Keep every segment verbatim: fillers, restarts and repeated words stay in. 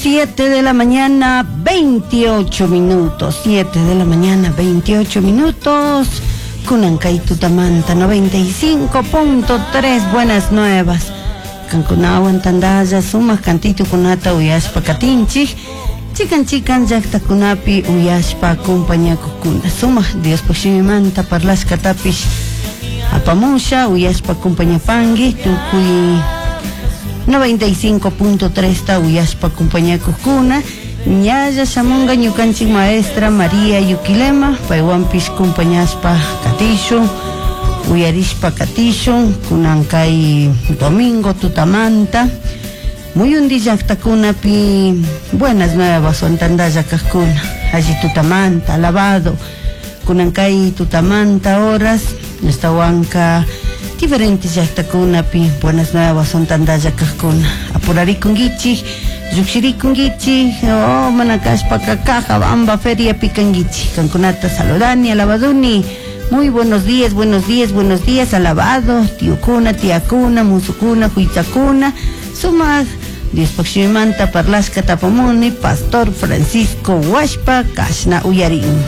Siete de la mañana, veintiocho minutos. Siete de la mañana, veintiocho minutos. Kunankay tutamanta noventa y cinco punto tres, Buenas Nuevas. Kankunawan tandalla sumak cantitukunata uyashpa katinchik. Chikan chikan llaktakunapi uyashpa acompañakukuna. Sumak Diospaj shimimanta parlashkatapish apamusha uyashpa acompañapangi tukuy noventa y cinco punto tres ta uyashpa acompañakukuna. Ñalla shamunga ñukanchik maestra María Yuquilema, paywanpish compañashpa katishun, uyarishpa katishun, kunan kay domingo tutamanta, muyundi llaktakunapi Buenas Nuevas tandalla kajkuna, alli tutamanta, alabado, kunan kay tutamanta horas, estawanka diferentes llaktakunapi Buenas Nuevas tandalla kajkuna, apurarikunkichik, llukshirikunkichik, oh, mana kashpaka Cajabamba feria pikankichik, kankunata saludani, alabaduni. Muy buenos días, buenos días, buenos días, alabado, tiokuna, tiakuna, musukuna, huitzakuna, sumak Diospaj shimimanta parlashka tapamuni, Pastor Francisco Huashpa, kashna uyarin.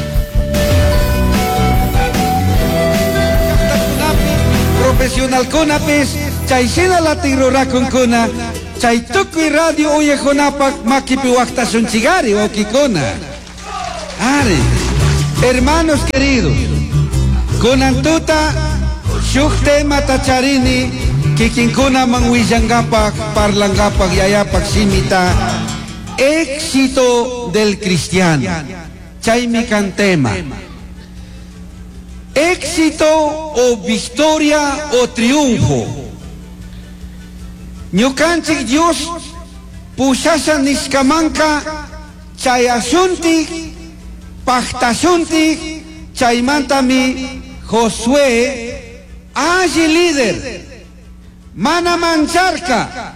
Profesionalkunapis chayshina latin rurakunkuna chay tukuy radio uyajkunapak makipi waqtashunchikari, wawkikuna. Ari, hermanos queridos, kunan tuta shuk temata charini kikinkunaman willankapak, parlankapak Yayapak shimita, éxito del cristiano. Chaymi kan tema. Éxito o victoria o triunfo. Ñukanchik Dios pushasha nishkamanka chayashuntik, pajtashuntik. Chaymantami Josué alli líder mana mancharka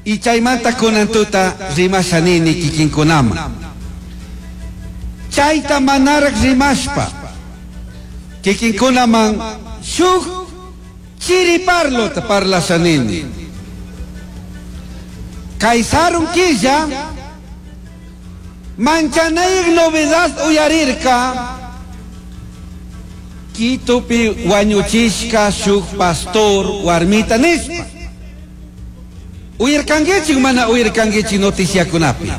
y chaymanta kunan tuta rimasha nini kikinkunama. Chayta manarak rimashpa kikinkunaman shuk chiriparlota parlasha nini. Kay sarun killa manchanayik novedad uyarirka Quitopi wañuchishka shuk pastor warmita nishpa. Uyarkankichik, mana uyarkankichik noticiakunapi?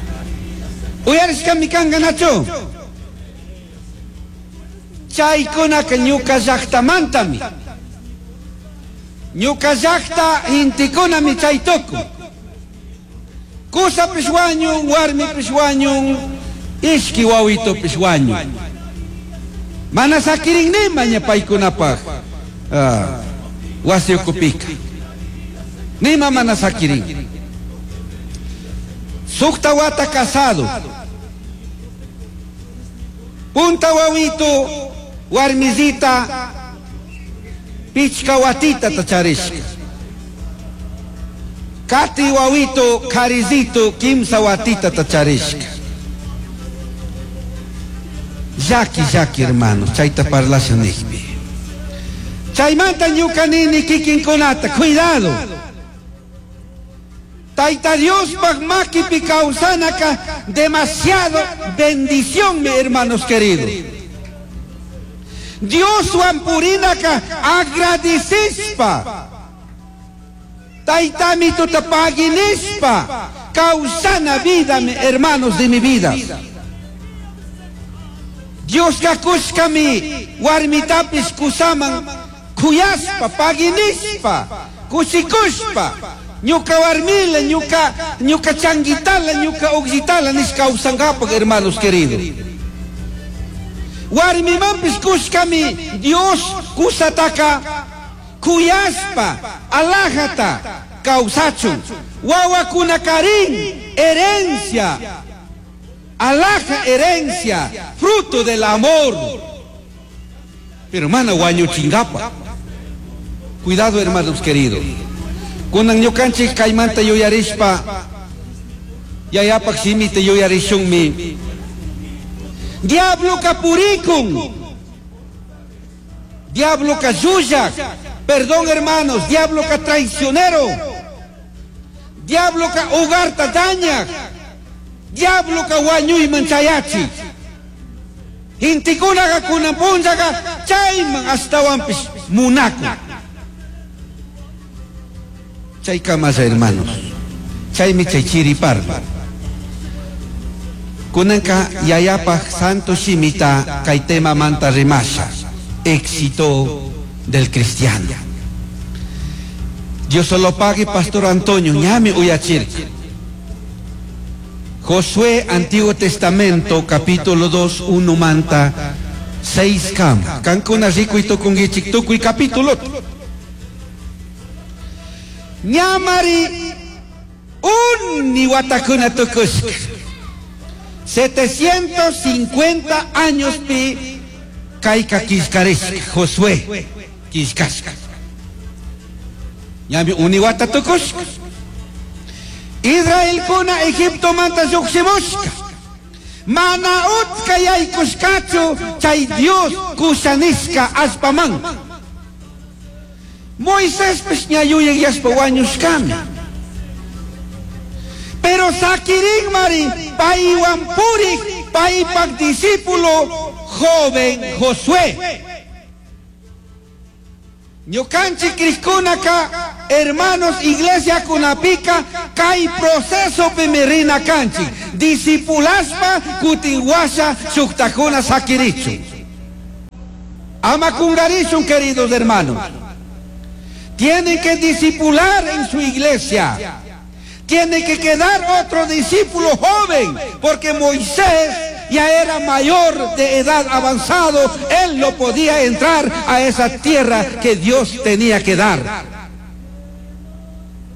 Uyarishkami kanka, nachu? Chaykunaka ñuka llaktamantami. Ñuka llakta intikunami chay tukun. Kusapish wañun, warmipish wañun, ishki wawitupish wañun. Mana sakirin nima ña paykunapaj ah, wasi ukupika. Nima mana sakirin. Sukta wata casado. Punta wawito, warmizita, pichka watita tacharishka. Kati wawito, karizito, kimsa watita tacharishka. Llaki, llaki, hermanos, chayta parlasha nijpi. Chaymanta ñuka nini kikinkunata, cuidado. Taita Diospaj makipi kawsanaka demasiado bendición, mi hermanos queridos. Dioswan purinaka agradecishpa. Taytami tuta paginishpa. Kawsana vida, mi hermanos de mi vida. Diosqa kushkami warmitapis kusaman kuyaspa, paginishpa, kushikushpa. Ñuka warmila, ñuka, ñuka changuitala, ñuka uglitala nish kawsankapak, hermanos queridos. Warmimanpis kushkami Dios kusataka kuyaspa, alajata kawsachun. Wawakunakarin, herencia, alhaja herencia, fruto del amor. Pero mana wañuchinkapa. Cuidado, hermanos queridos. Kunan ñukanchik kaymanta yuyarishpa, Yayapak shimita yuyarishunmi. Diablo kapurikun. Diablo kayuyak. Perdón, hermanos, diablo ka traicionero. Diablo ka hogarta daña. Diabloka wañuyman chayachi. Intikunaqa kunan punllaqa chayman ashtawanpis munakun. Chaykamalla hermanos. Chaymi chay chiri parlo. Kunanka yayapaj santo shimita kay tema manta rimasha. Éxito del cristiano. Dios solo pague Pastor Antonio ñami uyachirka. Josué, Antiguo Testamento, capítulo dos, uno manta, seis kam. Kankuna rikuy tukungichik tukuy capítulo. Ñamari uni watakuna tukushka. setecientos cincuenta años pi kayka killkarishka Josué killkashka. Ñami uni wata tukushka. Israel kuna Egipto manta lluqshimushka. Mana utka yaykushkachu chay Dios kushanishka allpaman. Moisés ña yuyayashpa wañushkami. Pero sakirin mari paywan purik paypak discípulo joven Josué. Ñukanchik krishkunaka hermanos iglesia kunapika kay proceso pimirina kanchik discipulaspa kutin washa shuktakuna sakirichu. Ama kungarishun, queridos hermanos. Tienen que discipular en su iglesia. Tiene que quedar otro discípulo joven, porque Moisés ya era mayor de edad avanzado, él no podía entrar a esa tierra que Dios tenía que dar.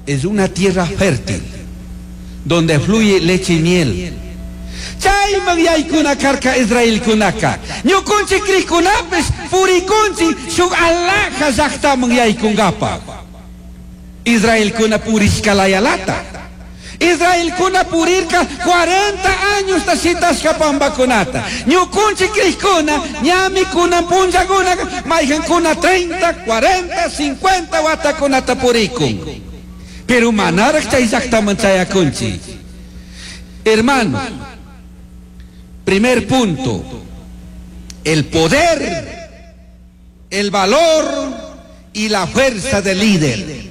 Es una tierra fértil, donde fluye leche y miel. Chayman yaykuna karka Israel kunaka. Ñukunchik krishkunapis purikunchik shuk alaja llaqtaman yaykungapaq. Israel kuna purishkalayalata. Israel kuna purirka cuarenta años tashitashka pambakunata. Ñukunchik krishkuna ñami kunan punllakuna mayqankuna treinta, cuarenta, cincuenta watakunata purikun. Pero manaraq chay llaqtaman chayakunchik. Hermano, primer punto, el poder, el valor y la fuerza del líder.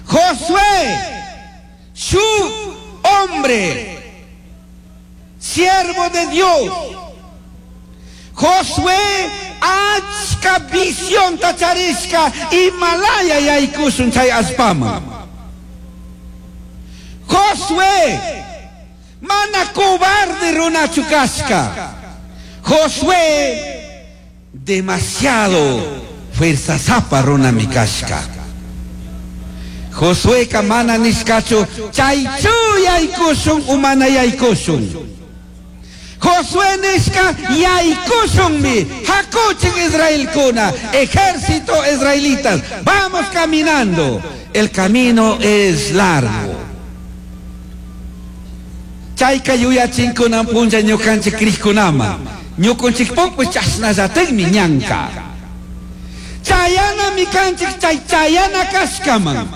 Josué, su hombre, siervo de Dios. Josué, achka visión tacharishka y malaya yaykusun chay allpaman. Josué, mana cobarde runachu kashka. Josué, demasiado fuerza zapa runami kashka. Josué ka mana nishkachu chaychu yaykushun umana yaykushun. Josué nishka yaykushunmi hakuchin israelkuna, ejército israelitas, vamos caminando. El camino es largo. Chayka yuyachinkunan punlla ñukanchik krishkunama. Ñukunchikpukpis chasnallatikmi ñanka. Chayana mikanchik chay chayana kashkaman.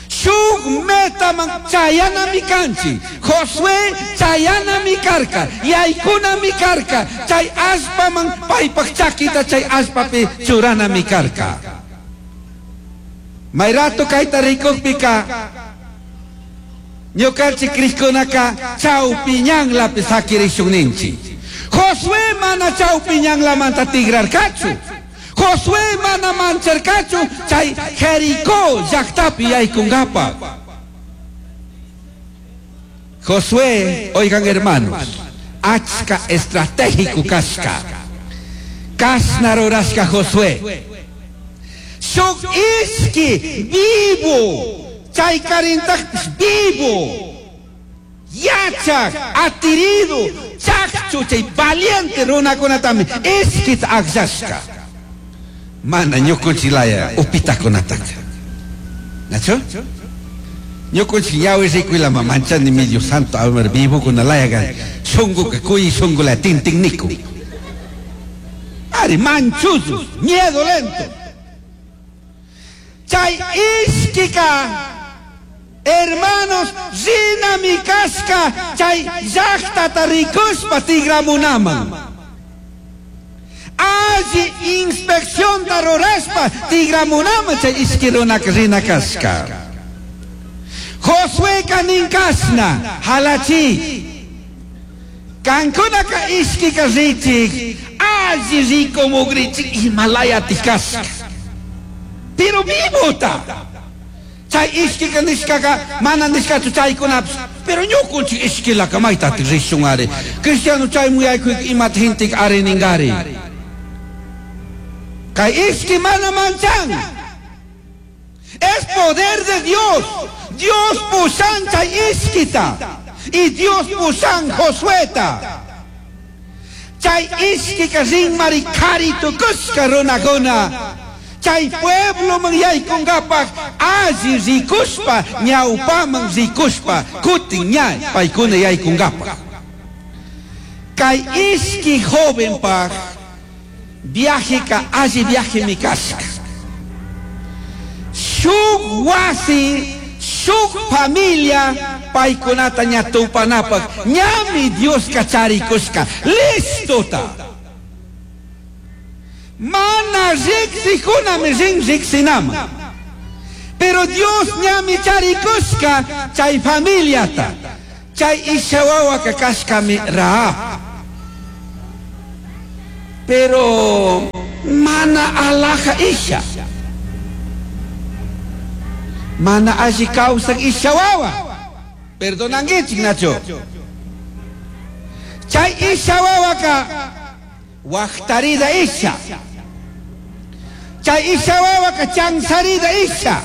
Shuk metaman chayana mikanchik. Josué chayana mikarka. Yaykuna mikarka. Chay allpaman paypak chakita chay allpapi churana mikarka. Mayrato kayta rikukpika ñukanchik krishkunaka chawpiñanlapi sakirishunninchik. Josué mana chawpiñanlamanta tigrarkachu. Josué mana mancharkachu chay Jericó llaqtapi yaykunkapaq. Josué, oigan hermanos, achka estratégico kashka. Kashna rurashka Josué. Shuk ishki vivo. Chay karintakpis vivo, yachak, atirido, chakchu, chay valiente runakunatami ishkita akllashka. Mana ñukunchilaya upitakunataka. ¿Nacho? Ñukunchik ñawi rikuylama manchani mi Dios santo, a ver, vivo kunalaya shunguka kuy shungula tintinniku. Ari manchuzu, miedo lento. Chay ishkika Hermanos, rinami kashka chay llaqtata rikushpa tigramunaman. Alli inspeccionta rurashpa tigramunaman chay ishki runaka rina kashka. Josueka ninkashna halachi. Kankunaka ishkika richik alli rikumugrichik Himalayati kashka. Pero vivota. Chay ishkika nishkaka mana nishkachu chaykunapish. Pero ñukunchik ishkilaka maytatik rishun ari. Cristiano chay muyaykuy imata hintik ari ningari. Kay ishki mana manchan. Es poder de Dios. Dios pushan chay ishkita. Y Dios pushan Josueta. Chay ishkika rinmari kari tukushka runakuna. Chay pueblo man yaykunkapaj alli rikushpa ñawpaman rikushpa kutin ña paykuna yaykunkapaj. Kay ishki jovenpaj viajeka alli viaje mi kashka. Shuk wasi, shuk familia paykunata ña tupanapaj ñami Dioska charikushka listota. Mana riksikunami rin riksinama. Pero Dios ñami charikushka chay familiata. Chay ishawawaka kashkami Rahab. Pero mana alaja isha. Mana alli kawsak ishawawa. Perdonanguichik Nacho. Chay ishawawaka waqtarida isha. Chay ishawawaka chansarida isha.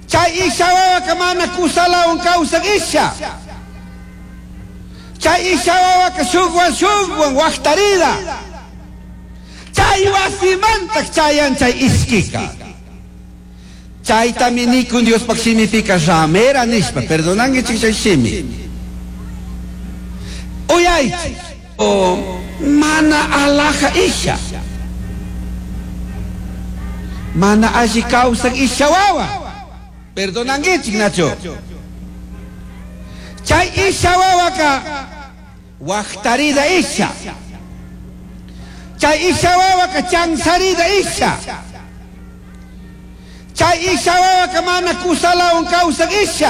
Chay ishawawaka mana kusalawan kawsak isha. Chay ishawawaka shukwan shukwan waqtarida. Chay wasimantak chayan chay ishkika. Chaytami nikun Diospaq shimipika ramera nishpa. Perdonanguichik chay shimi. Uyaychik. O mana alaja isha. Mana alli kawsak ishawawa. Perdonanguichik Nacho. Chay ishawawaka waqtarida isha. Chay ishawawaka chansarida isha. Chay ishawawaka mana kusalawan kawsak isha.